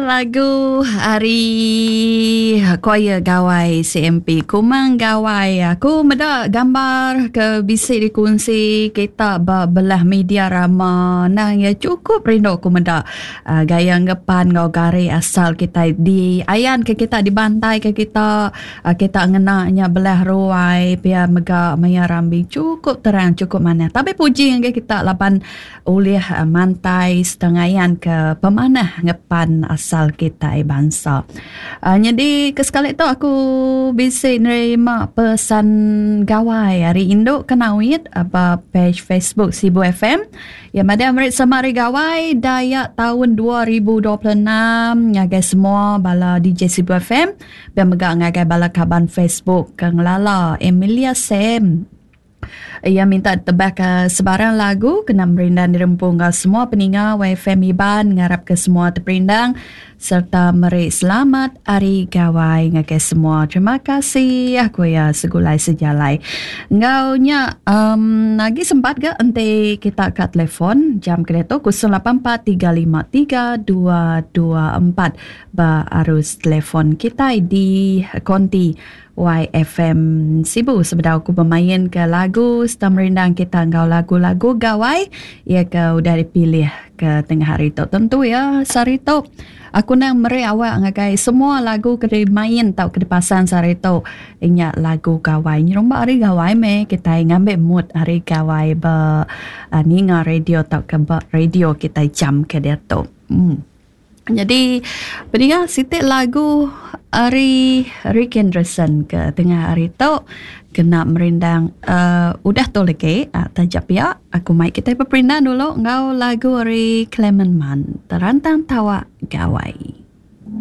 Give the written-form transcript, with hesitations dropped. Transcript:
lagu ari choir Gawai CMP Kumang Gawai. Aku meda gambar ke bisi dikunsi kita ba belah media rama nang iya chukup rindu aku meda uh, gaya ngepan enggau gari asal kita di ayan ke kita dibantai ke kita uh, kita ngena nya belah ruai pia mega maya rambi chukup terang chukup manah. Tapi puji ngagai kita laban Ulih mantai sereta ngayanka pemanah ngepan asal kitai bansa. Nyadi ke sekali tu aku bisi nerima pesan gawai ari indu ke nawit ba page Facebook Sibu FM. Iya madah meri selamat hari gawai Dayak taun 2026 ngagai semua bala DJ Sibu FM pia mega ngagai bala kaban Facebook ke ngelala Emilia Sam. Iya minta ditebahka sebarang lagu kena merindang dirempu enggau semua peninga YFM Iban ngarapka semua teperindang sereta meri selamat Hari Gawai ngagai semua. Terima kasih ku iya segulai sejalai. Enggau nya um, agi sempat ga enti kita ka telefon jam ke diatu 084353 224 ba arus telefon kitai di konti YFM Sibu sebedau aku bemain ke lagu serta merindang kita enggau lagu-lagu gawai iya ke udah dipilih ke tengah hari tu. Tentu ya sehari tu aku nang meri awak ngagai semua lagu ke dimain tau ke dipasang sehari tu inya lagu gawai. Nyerumba hari gawai meh kitai ngambi mood hari gawai ba ninga radio tauka ba radio kitai jam ke diatu. Hmm. Nyadi peninga siti lagu ari Rick Anderson ke tengah hari tu kena merindang uh, udah tu lagi uh, taja pia aku mai kitai beperindang dulu enggau lagu ari Clement Man Terantang Tawa Gawai.